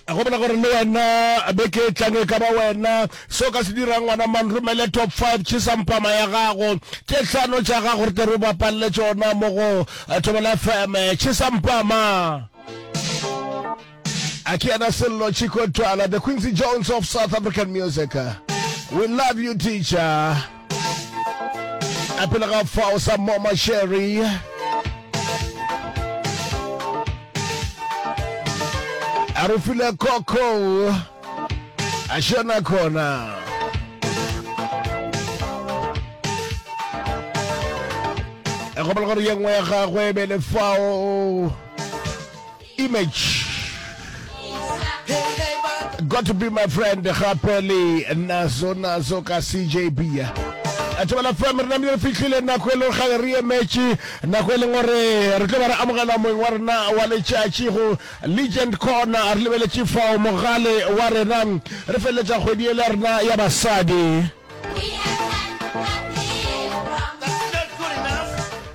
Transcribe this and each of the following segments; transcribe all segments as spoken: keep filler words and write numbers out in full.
Gopola gore le wena beke e tlang e ka ba wena. Se o ka se dirang ngwana man, romele top five tšhesampama ya gago tše hlano tša gago re tle re o bapalle tšona mo go Thobela F M. Tšhesampama. A ke yena Sello Chicco Twala, the Quincy Jones of South African music. We love you, teacher. A pele ga fao sa Moma Sherry. A re file Coco. A shona khona. E gopola gore ye nngwe ya gagwe e be le fao Image. Got to be my friend gape le nazo nazo ka C J B. A Thobela F M re namile re fihlile nako e leng gale re emetše nako e leng gore re tlo ba re amogela moeng wa rena wa letšatši go Legend Corner. Re lebeletše fao mogale wa rena re feleletša kgwedi ele ya rena ya basadi.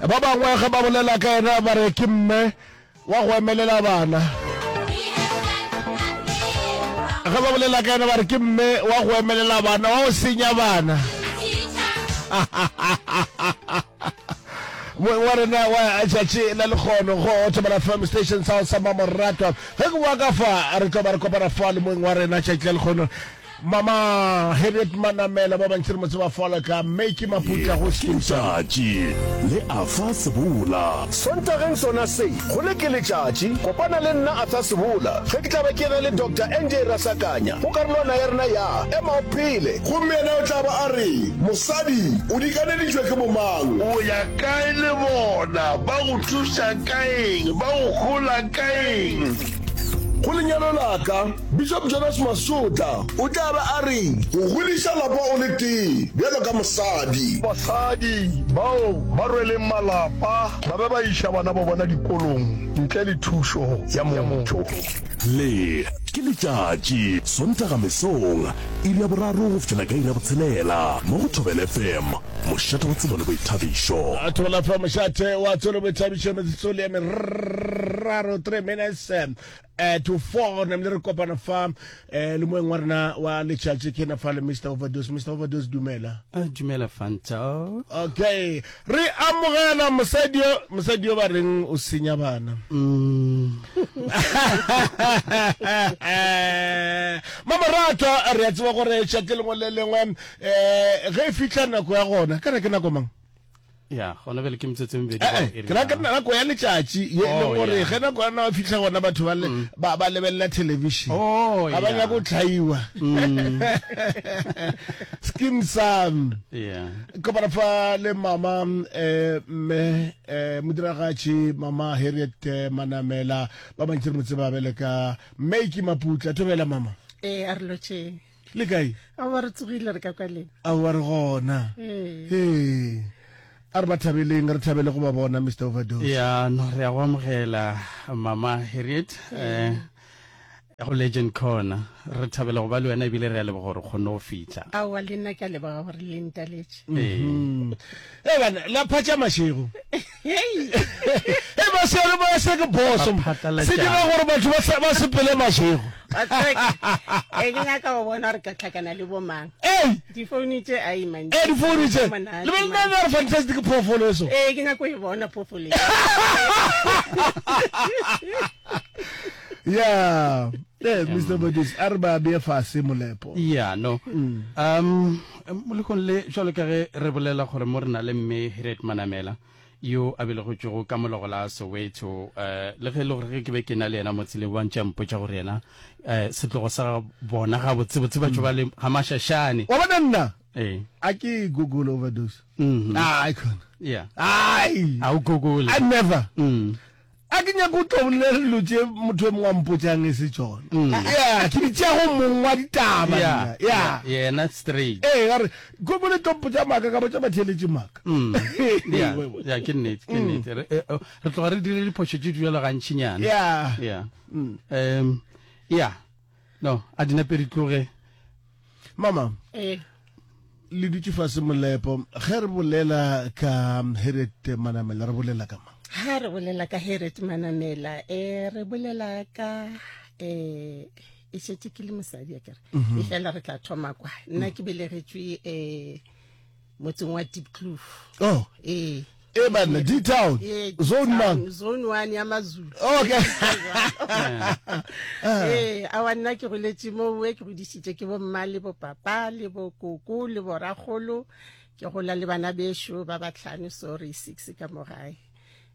Ba bangwe ge ba bolela ka yena ba re ke mme wa go emelela bana. Ge ba bolela ka yena ba re ke mme wa go emelela bana, wa go senya bana. Moeng wa rena wa tšatši la lekgono go Thobela F M Station sa sa Mamoratwa. Ge ke boa ka fa re tlo ba re kopana fa le moeng wa rena tšatši la lekgono Mama Harriet Manamela, ba bantši re mo tseba fala ka Maki Maputla go Ke letšatši le Arthur Sebola. Sontageng sona se, go le ke letšatši, kopana le nna Arthur Sebola ge ke tla ba ke ena le Doctor N J Rasakanya go karolwana ya rena ya Ema o Phele. Gomme yena o tla ba a re, Mosadi, o dikaneditšwe ke bomang? O ya kae le bona? Ba go thuša ka eng? Ba go hola ka eng? Go lenyalo la ka, Bishop Jonas Masotla o tla ba a re. Go godiša lapa o le tee bjalo ka mosadi. Basadi bao ba rweleng malapa ba be ba iša bana ba bona dikolong ntle le thušo ya motho. Le ke letšatši, Sontaga mesong, iri ya boraro go fihlela ka iri ya botshelela, mo go Thobela F M, mošate wa tsebo le boithabišo. Thobela F M, mošate wa tsebo le boithabišo, metsotso le meraro, three minutes eh, to four, namile re kopana fa eh, le moeng wa rena wa letšatši ke na fa le Mister Overdose. Mister Overdose, dumela. Uh, dumela Fanta. Okay, re amogela mosadi yo, mosadi yo ba reng o senya bana. Mm. Mamoratwa, re a tseba gore tšatši lengwe le lengwe eh, ge e fihla nako ya gona, kana ke nako mang? Ya, gona bjale ke metsotso e mebedi Eh, go eh, iri ke ra ya. ka nako ya letšatši ye e leng Oh, gore yeah. ge nako ya na fihla gona batho ba le Mm. ba ba lebelela television. Oh, Ga ba yeah. nyake go tlhaiwa. Mm. Skeem Saam. Yeah. Kopana fa le mama eh mme eh modiragatši mama Harriet eh, Manamela ba bantši re mo tseba bjale ka Maki Maputla. Thobela mama. Eh, a re lotšheng. Le kae? Aowa re tsogile re ka kwa lena. Aowa re gona. Ee. Ee. A re ba thabeleng, re thabele go ba bona Mister Overdose. Ya, no re a go amogela mama Harriet eh go Legend Corner. Re thabela go ba le wena ebile re a leboga gore o kgonne go fihla. Aowa le nna ke a leboga gore le ntaletše. Ee. Mm. Eh bana, la phatša mašego. Hei. Eh ba se re ba se ke boso. Ba phatlalatšana. Se dira gore batho ba sa, ba sepele mašego. Wa tseba ke, eh, ke nyaka go bona gore ka tlhakana le bo mang. Ei. Difounu tše a e mantši. Eh, difounu tše. Monate, Le be le man. nna re fantastic phoofolo eso. Eh, ke nyaka go e bona phoofolo e. Yeah. Eh, Mister Modis, a re ba beye fase molepo. Yeah, no. Mm. Um, molekong le jwalo ka ge re bolela gore mo re na le mme Harriet Manamela yo a belegetšwego ka mologo la Soweto, eh, le ge e le gore ge ke be ke na le yena mo tseleng ba ntše a mpotša gore yena, eh, setlogo sa bona gabotsebotse ba tšo ba le ga Mashashane. Wa bona nna? Eh. A ke Google Overdose. Mm-hmm. Ah, I can't. Yeah. Ai. A o Google. I never. Mm. A ke nyake go tlo bolela dilo tše motho e mongwe a mpotšang e se tšona. Mm. Yeah, ke di tšea go mong wa ditaba Yeah, nna. Yeah. yeah, yena straight. Ee, a re, Google e tlo mpotša maaka, ka botša batheeletši maaka. Mm. Yeah, yeah, ke nnete, ke nnete. Re, eh, oh, re tloga re dire diphošo tše di bjalo gantšinyana. Yeah. Yeah. Mm. Um, yeah. No, a di nape di tloge. Mama. Eh. Le dutše fase molepo, ge re bolela ka Harriet Manamela, re bolela ka mang? Ha re bolela ka Harriet Manamela, eh, re bolela ka, eh, e šetše ke le mosadi a kere Mhm. e fela re tla thoma kwa nna ke belegetšwe um motseng wa Diepkloof Oh. ee E banna, D-Town. Ee, Zone D-Town, mang? zone one ya mazulu Okay. ee awa nna ke goletše mowe ke godišitše ke bomma le bopapa le bokoko le boragolo ke gola le bana bešo ba batlhano sorry six ka mo gae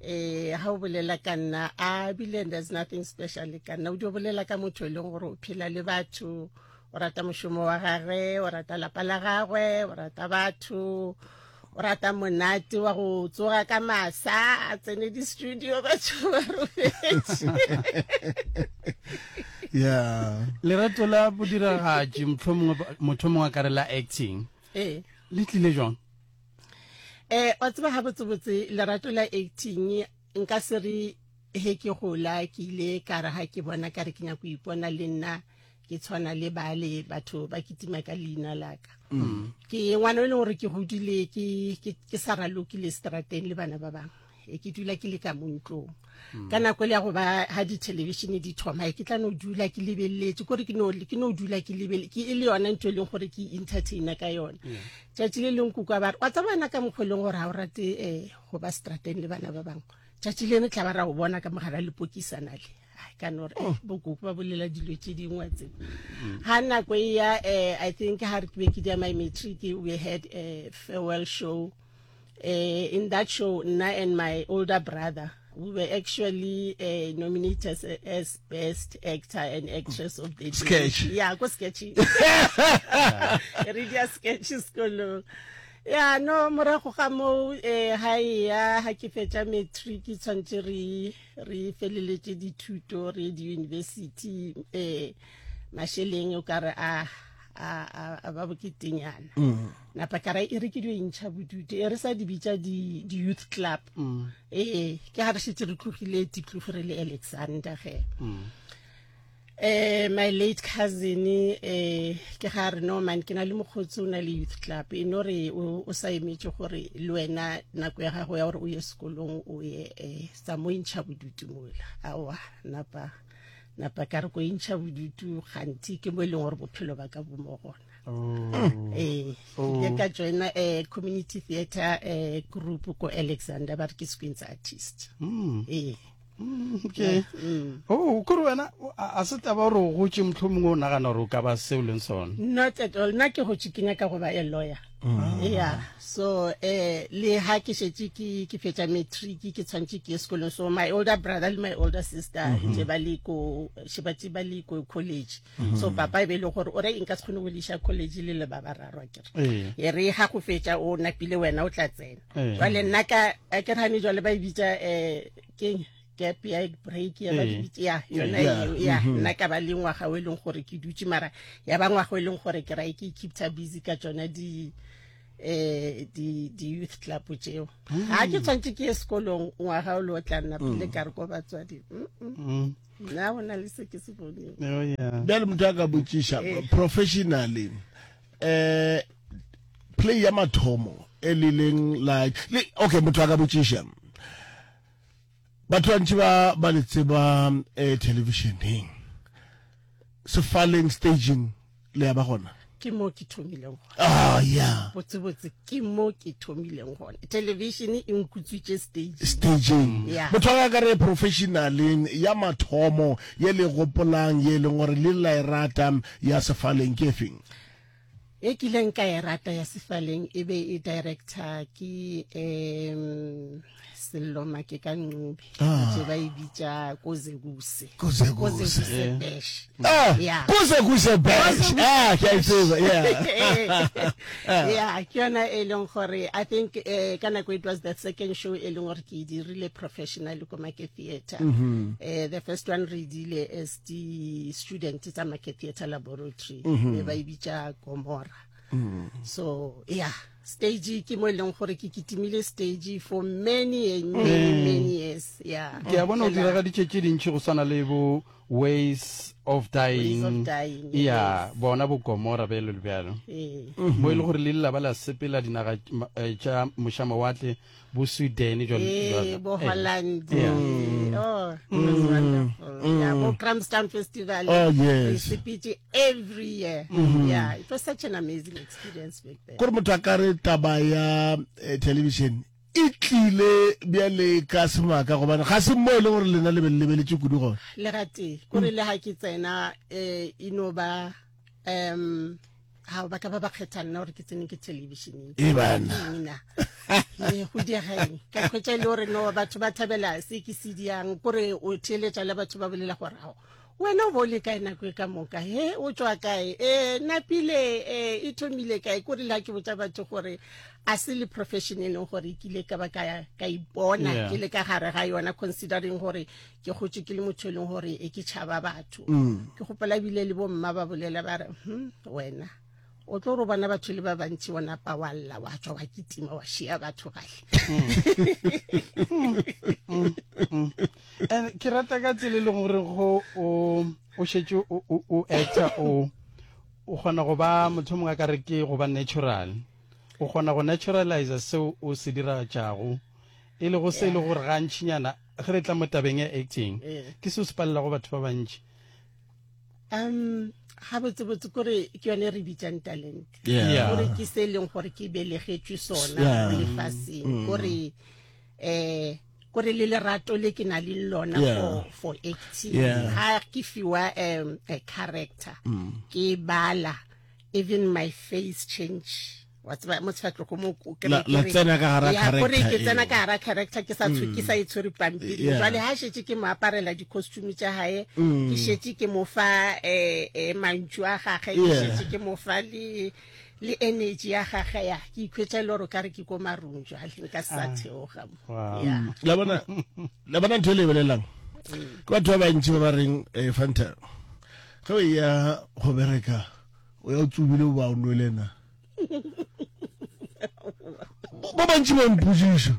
eh ha o bolela ka nna a bile there's nothing special ka nna o dio bolela ka motho e leng gore o phela le batho o rata mošomo wa gagwe o rata lapa la gagwe o rata batho o rata monate wa go tsoga ka masa a tsene di-studio batho ba robetše yeah lerato la bodiragatši mohlomongwe motho mongwe a ka re la acting ee le tlile jwang eh wa tseba ga botsebotse lerato la acting nka se re he ke gola ke ile ka re ga ke bona ka re ke nyako ipona le nna ke tshwana le bale batho ba kitima ka leina laka Mm. ke ngwana o e leng gore ke godile ke ke- ke sa ralokile strateng le bana ba bangwe e ke dula ke le ka mo ntlong Mm. ka nako le ya go ba ha dithelebišene di thoma e ke tla no dula ke lebeletse kore ke no ke no dula ke lebele ke e le yona ntho e leng gore ke entertainer ka yona tšatši le leng kuka ba re wa tseba ka mokgwa e leng gore ga o rate um go ba strateng le bana ba bangwe tšatši lene tla ba ra go bona ka mogara lepokisana le Ai, ka no re eh, bokoko ba bolela dilo tše dingwe wa tseba ga nako e ya um i think ga re ke be ke dia my matric we had a farewell show uh, in that show nna and my older brother we were actually uh, nominated as, as best actor and actress of the day. Sketch. yeah ko sketch re dia sketch sekolong ya no morago ga moo um ga e ya ga ke fetša matric tshwanetse re re feleletše dithuto re ye di-university um mašeleng o ka re a a a- a ba boketenyana Mm. napa ka ra e re ke dio intšha bodutu e re sa di bitša di- di-youth club ee ke ga re šetse re tlogile Diepkloof re le Alexander ge eh my late cousin eh ke ga re no man ke na le mokgotsi o na le youth club e no re o o sa emetše gore le wena nako ya gago ya gore o ye sekolong o ye eh tsa mo intšha bodutu mola aowa napa napa ka re ko intšha bodutu gantsi ke mo e leng gore bophelo ba ka bo mo gona ee Oh. ke ka joina eh community theatre eh group ko Alexander ba re ke Squints artist Mm. ee okay Mm. oh kore wena o- a a se taba gore o gotse mohlomongwe o nagana gore o ka ba seo leng sona not at all nna ke gotse ke nyaka go ba a lawyer Mm. yeah so eh le ha ke šetše ke ke fetša matric ke tshwanetse ke ye sekolong so my older brother le my older sister Mhm. tše ba le ko še ba tše ba le ko college Mhm. so papa e be e le gore o re nka se kgone go le iša college le le ba bararo akere Ee. e re ga go fetša o napile wena o tla tsena Ee. jwale nna ka a ke rane jwale ba e bitša um keng gap ya break ya ba Ee. di bitša ya yona Yeah. eo ya Mhm. nna ka ba le ngwaga o e leng gore ke dutše mara ya ba ngwaga o e leng gore ke rae ke keepta busy ka tsona di eh di di youth club tšeo ga ke tshwanetse ke ye sekolong ngwaga o le o tla nna pele ka re ko batswadi mm, mm. Mm. nna go na le se ke se boneng Oh, yeah. bjale motho a ka botšiša Eh. professionally eh play ya mathomo e le leng like le okay motho a ka botšiša batho bantši ba ba le tseba eh televisioneng sefaleng staging le ya ba gona ke mo ke thomileng gona ah yeah botsebotse ke mo ke thomileng gona television e nkutswitše stage staging Yeah. motho a ka re professionaleng ya mathomo ye le gopolang ye e leng gore le la e rata ya sefaleng ke efeng e kileng ka e rata ya sefaleng e be e director ke um Sello Make ka Ncube Ah. tše ba e bitša Kozekuse Kozekuse. Kozekuse Yeah. Bash Ah, Yeah. Kozekuse Bash. Ah, ke a e tseba, yeah. yeah ke yona e leng gore i think eh, ka nako it was the second show e leng gore ke e dirile professionally ko Make Theatre Mhm. eh, the first one re e dile as di student tsa Make Theatre Laboratory Mhm. be ba e bitša Gomora Mm. so yeah Stage ke mo e leng gore ke kitimile stage for many and many Mm. many years. Yeah. Ke a bona o Fela- diragaditše tše dintši go swana le bo Ways of Dying. Ways of Dying, Ya, yes. bona bo Gomora bjalo le bjalo. Ee. Mo e le gore le lla ba la sepela dinaga ma- eh, tša mošamawatle bo Sweden jwalo Ee, jwalo. bo Eh. Holland. Yeah. Oh, it was wonderful. Yeah, bo Grahamstown Festival. Oh, Re yes. sepetše every year. Yeah, it was such an amazing experience back then. Kore motho a ka re taba ya eh, television e tlile bjale ka semaka gobane ga se mo e leng gore lena le be le lebeletše kudu gona. Le gatee, kore le ga ke tsena eh e no ba um ha ba ka ba ba kgetha nna gore ke tsene ke televisioneng. E bana. Ke eng na? Ee, go diega eng? Ka hwetša e le gore no batho ba thabela se ke se diang, kore o theeletša le batho ba bolela gore ao wena o bo o le kae nako e ka moka, he o tšwa kae, e napile, e e thomile kae. Kore le ha ke botša batho gore a se le profession e leng gore ke ile ka ba ka ya- ka ipona Yeah. ke le ka gare ga yona, considering gore ke gotše ke le motho e leng gore e ke tšhaba batho. Ke gopola ebile le bo mma ba bolela ba re hm wena o tlo re bona batho le ba bantši wa napa wa lla wa tšwa wa kitima wa šia batho gale. And ke rata ka tsela e leng gore go o o šetše o o o actor o o kgona go ba motho mongwe a ka re ke go ba natural. O kgona go naturalize seo o se diragatšago e lego se e le gore gantšinyana ge re tla mo tabeng ya acting Yeah. ke seo se palelago batho ba bantši. Um ga botsebotse kore ke yone re bitsang talent. Yeah. Kore ke se e leng gore ke belegetšwe sona Yeah. mo lefaseng. Kore eh kore le lerato le ke na le lona Yeah. for for acting. Yeah. Ha ke fiwa um a character ke bala even my face change wa tseba mo sefatlhogo mo o kry- La- la ke re- tsena ka hara Ya, kore character ke tsena eo. ka hara character ke sa tshwe- ke sa e tshwere pampiri. Yeah. Jwale ha šetše ke mo aparela di-costume tša hae, ke šetše ke mo fa eh, eh, mantšu a gage, ke Yeah. šetše ke mo fa le le energy ya gage ya ke ikhwetša e le gore o ka re ke ko marung jwale nka se sa theoga mo. Wow. Yeah. La bona la bona ntho e le e bolelelang ke batho ba bantši ba ba reng eh, Fanta ge o ya go bereka o ya o tsubile o ba o nwele na. Ba bantši ba mpotsiša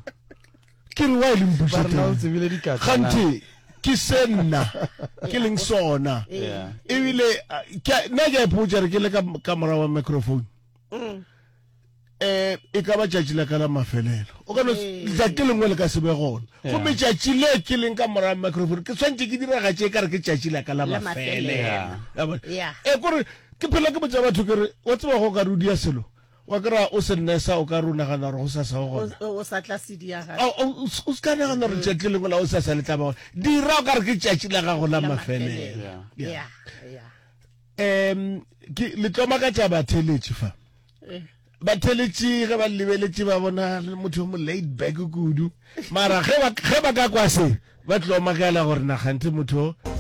ke re wa e le Ba re na o mpotsiša tsebile dikatla na? gante ke se nna ke leng sona. Yeah. Ebile a, ke a- nna ke a ipotša re ke le ka ka morago wa microphone eh e ka ba tšatši la ka la mafelelo o ka no letšatši lengwe le ka se be gona gomme tšatši le ke leng ka morago wa microphone ke tshwanetse ke diragatše e ka re ke tšatši la ka la La mafelelo. mafelelo. Ya bona? Yeah. e kore ke phela ke botša batho ke re wa tseba go ka re o dia selo wa kry-a o se nnesa o ka re o nagana gore go sasa go gona. O o sa tla se dia gape. O- o o se ka nagana gore tšatši le lengwe la o sasa le tla ba gona dira o ka re ke tšatši la gago la La mafelelo. mafelelo. Yeah. Yeah, yeah. Um ke le tlo makatša batheletši fa. Eh. Batheletši ge ba lebeletše ba bona le motho yo mo laid back kudu mara ge ba ge ba ka kwa se ba tlo makala gore nagante motho o